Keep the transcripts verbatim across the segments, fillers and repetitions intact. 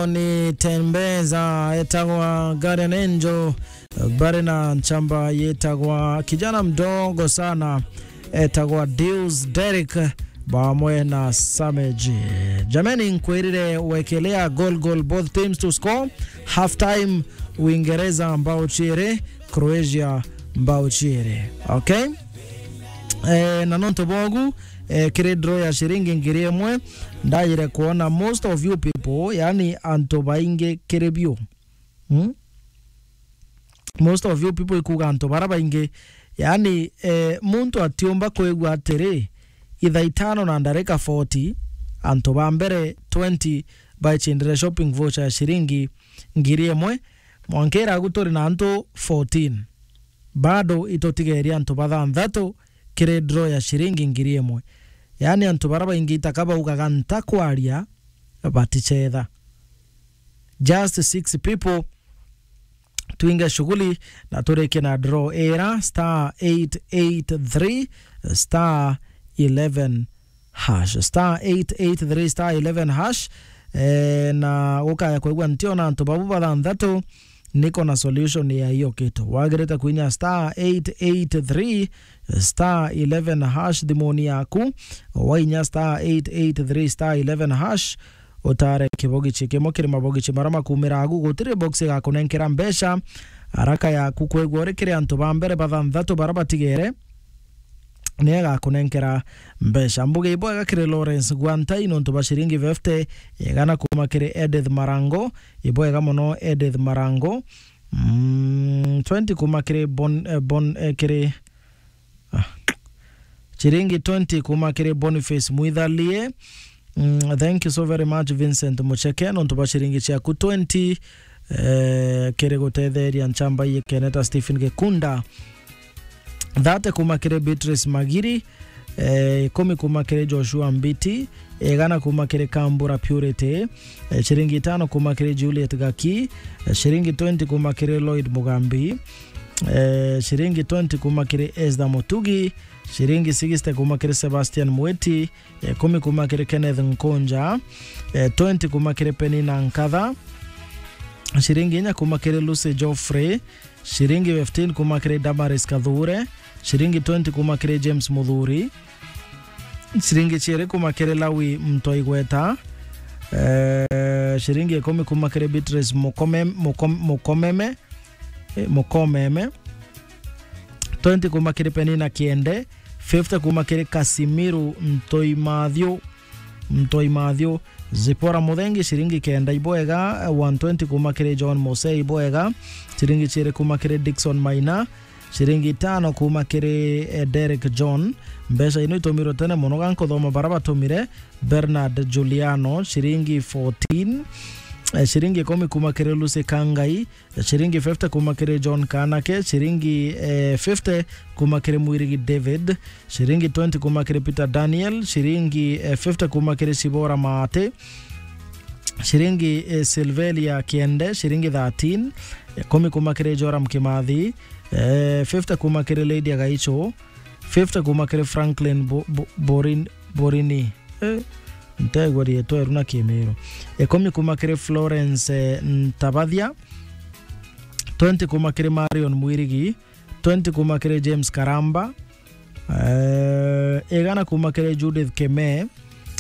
ni Tembeza, etagwa Guardian Angel, bari na nchamba yetagwa kijana mdogo sana, etagwa Deus Derek, bamwe na Samage. Jameni, nkwirire wekelea goal, goal, both teams to score. Half time, Uingereza mbao chiere, Croatia mbao chiere. Okay? Eh, na nontu bogu, eh, kiri draw ya shiringi ngiri imwe, ndajire kuona most of you people, yani antu baingi kiri biu. Hmm? Most of you people ikuga antu bara baingi, yani, eh, muntu atiumba kwigua atiri, ithaa itano na ndarika forty, antu ba mbere twenty baichindire shopping voucher ya shiringi ngiri imwe, mwanka iragu turi na antu fourteen. Bado itutigerie antu bathanthatu kiri draw ya shiringi ngiri imwe. Yani antu bara baingi itaka baugaga ntakwaria, batichetha. Just six people. Twinge shughuli na turike na draw ira star eight eight three star eleven hash, star eight eight three star eleven hash. Eh, na ukaya kwigua ntiona antu babu bathanthatu, niko na solution ya hiyo kitu. Wagirite kuinya star eight eight three star eleven hash thimuni yaku. Wainya star eight eight three star eleven hash, utare kibogichi kimwe kiri mabogichi mara makumira agu. Gutiri box igakunenkera mbeca. Haraka yaku kwigua uri kiri antu ba mbere bathanthatu bara batigere, ni agakunenkera mbeca. Mbuge ibwega kiri Lawrence Gwantai nontu ba shiringi fifty, igana kuma kiri Edith Marango, ibwega mono Edith Marango. Mm, twenty kuma kiri Bon-, eh, Bon-, eh, kiri, ah, shiringi twenty kuma kiri Boniface Mwithalie. Mm, thank you so very much, Vincent Mucheke, nontu bwa shiringi ciaku twenty, eh, kiri gutetheria nchamba iye Keneta Stephen Gikunda. Thate kuma kiri Beatrice Magiri, eh, ikumi kuma kiri Joshua Mbiti, igana kuma kiri Kambura Purity, eh, shiringi itano kuma kiri Juliet Gaki, eh, shiringi twenty kuma kiri Lloyd Mugambi, eh, shiringi twenty kuma kiri Esther Mutugi, shiringi sixty kuma kiri Sebastian Mweti, eh, ikumi kuma kiri Kenneth Nkunja, eh, twenty kuma kiri Penina Nkatha, shiringi inya kuma kiri Lucy Geoffrey, shiringi fifteen kuma kiri Damaris Kathure, shiringi twenty kuma kiri James Muthuri, shiringi ciiri kuma kiri Lawi Mtoigweta, eh, shiringi ikumi kuma kiri Beatrice Mukome-, Mukom-, Mukomeme, eh, Mukomeme, twenty kuma kiri Penina Kiende, fifty kuma kiri Kasimiru Ntoimathiu, Ntoimathiu, Zipora Muthengi, shiringi kenda ibwega, one twenty kuma kiri John Mose ibwega, shiringi ciiri kuma kiri Dickson Maina, shiringi itano kuma kiri, eh, Derek John. Mbeca ino itumirwe tene mono, ga nkuthoma bara batumire: Bernard Juliano, shiringi fourteen, eh, shiringi ikumi kuma kiri Lucy Kangai, shiringi fifty kuma kiri John Kanake, shiringi, eh, fifty kuma kiri Mwirigi David, shiringi twenty kuma kiri Peter Daniel, shiringi, eh, fifty kuma kiri Sibora Maate, shiringi, eh, Silvelia Kiende, shiringi thirteen, ikumi kuma kiri Joram Kimathi, eh, fifty kuma kiri Lydia Gaicho, fifty kuma kiri Franklin Bo-, Bo-, Borin-, Borini. Eh, ntegwa rietwa eru na Kimiru. Ikumi kuma kiri Florence, eh, Ntabathia, twenty kuma kiri Marion Mwirigi, twenty kuma kiri James Karamba, eh, igana kuma kiri Judith Keme,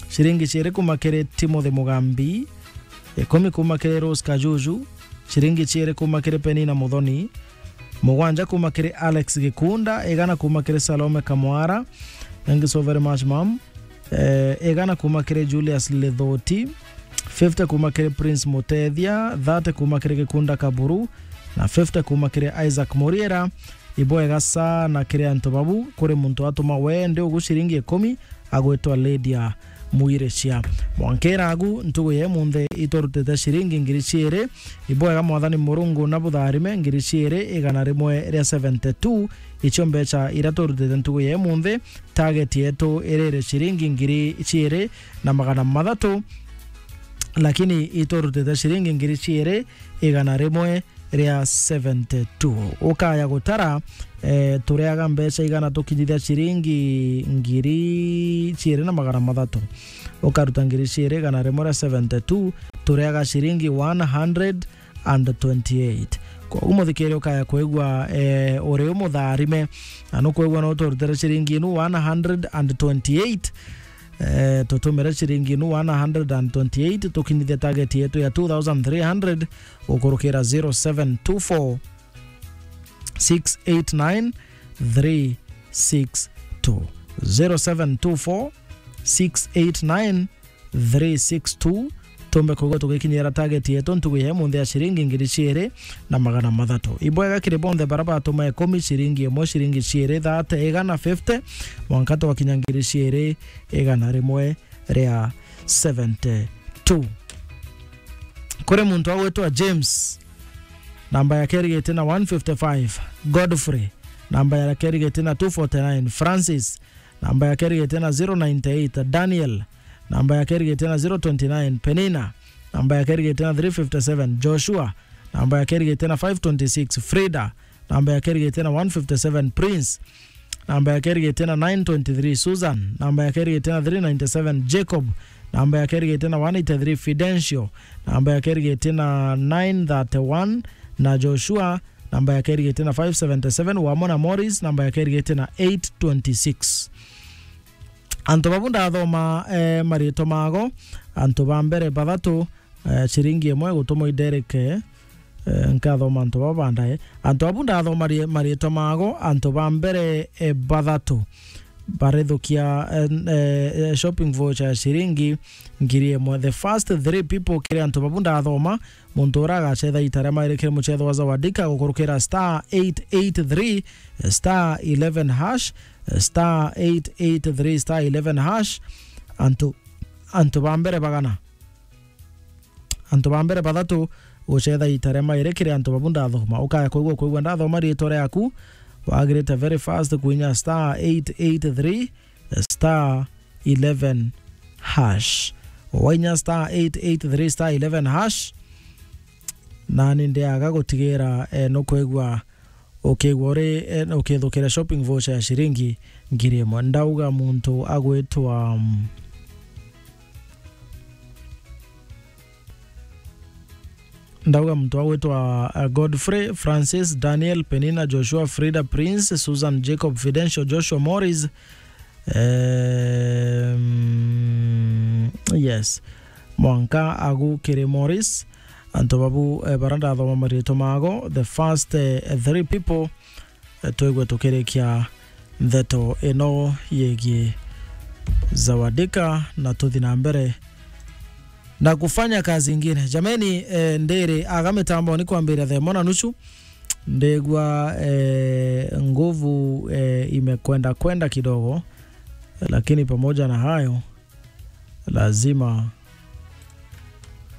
shiringi ciiri kuma kiri Timothy Mugambi, ikumi kuma kiri Rose Kajuju, shiringi ciiri kuma kiri Penina Muthoni, mugwanja kuma kiri Alex Gikunda, igana kuma kiri Salome Kamwara. Thank you so very much, ma'am. Eh, igana kuma kiri Julius Lithoti, fifty kuma kiri Prince Mutethia, thirty kuma kiri Gikunda Kaburu, na fifty kuma kiri Isaac Muriera. Ibwega sana kiri antu babu, kuri muntu atuma wende ugu shiringi ikumi, agwitwa Lydia Mwiricia. Mwankera agu, ntugu ya imunthe itwarutite shiringi ngiri ciiri. Ibwega Mwathani Murungu na butharime, ngiri ciiri igana rimwe ria seventy-two, icio mbeca iria twarutite ntugu ya imunthe. Target yetu iriri shiringi ngiri ciiri na magana mathatu, lakini itwarutite shiringi ngiri ciiri igana rimwe ria seventy-two. Ukaya gutara, eh, turiaga mbeca igana tukinyithia ciringi ngiri ciiri na magana mathatu. Ukaruta ngiri ciiri igana rimwe ria seventy-two, turiaga ciringi one hundred and twenty-eight. Koguo muthikiri ukaya kwigua, eh, uri umutharime, na nukwigua no turutire ciringi inu one hundred and twenty-eight, eh, tutumire ciringi inu one hundred and twenty-eight, tukinyithie target yetu ya two thousand three hundred, gukurukira zero seven two four, six eight nine, three six two. Zero seven two four, six eight nine, three six two. Tumbe kwigua tugikinyira target yetu ntugu ya munthi ya ciringi ngiri ciiri na magana mathatu. Ibwega kiri bonthe bara batuma ikumi, ciringi imwe, ciringi ciiri, thirty, igana, fifty, mwanka twakinya ngiri ciiri, igana rimwe ria seventy-two. Kuri muntu agwitwa James, namba yake irigite na one fifty-five. Godfrey, namba yake irigite na two forty-nine. Francis, namba yake irigite na zero ninety-eight. Daniel, namba yake irigite na zero twenty-nine. Penina, namba yake irigite na three fifty-seven. Joshua, namba yake irigite na five twenty-six. Frida, namba yake irigite na one fifty-seven. Prince, namba yake irigite na nine twenty-three. Susan, namba yake irigite na three ninety-seven. Jacob, namba yake irigite na one eighty-three. Fidencio, namba yake irigite na nine thirty-one. Na Joshua, namba yake irigite na five seventy-seven. Wamona Morris, namba yake irigite na eight twenty-six. Antu babu ndathoma, eh, mariitwa mago. Antu ba mbere bathatu, eh, ciringi imwe gutumwa i Derek, eh, nkathoma antu baba bandae. Antu abu ndathoma ri-, mariitwa mago, antu ba mbere, eh, bathatu barithukia, eh, eh, shopping voucher ya ciringi ngiri imwe. The first three people kiri antu babu ndathoma, muntu uria agacetha ita ria mairi kiri mucetho wa Zawadika gukurukira star eight eight three star eleven hash, star eight eight three star eleven hash. Antu, antu ba mbere bagana. Antu ba mbere bathatu gucetha ita ria mairi kiri antu babu ndathoma. Ukaya kwigua, kwigua ndathoma riitwa riaku, wagirite very fast kuinya star eight eight three star eleven hash. Wainya star eight eight three star eleven hash, nani ndiaga gutigira, eh, nukwigua ukigwa uri, eh, ukithukira shopping voucher ya ciringi ngiri imwe. Ndauga muntu agwitwa, mm, ndauga muntu agwitwa, uh, Godfrey, Francis, Daniel, Penina, Joshua, Frida, Prince, Susan, Jacob, Fidencio, Joshua, Morris, em, yes, mwanka agu kiri Morris. Antu babu, eh, bara ndathoma mariitwa mago, the first, eh, three people, eh, twigwe tukirikia ndeto ino yegii Zawadika na tuthi na mbere na kufanya kazi ingine. Jameni, eh, ndiri aga mitamboni kwambira thaa imwe na nusu. Ndigua, eh, nguvu, eh, imekwenda kwenda kidogo, lakini pamoja na hayo, lazima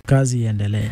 kazi iendelee.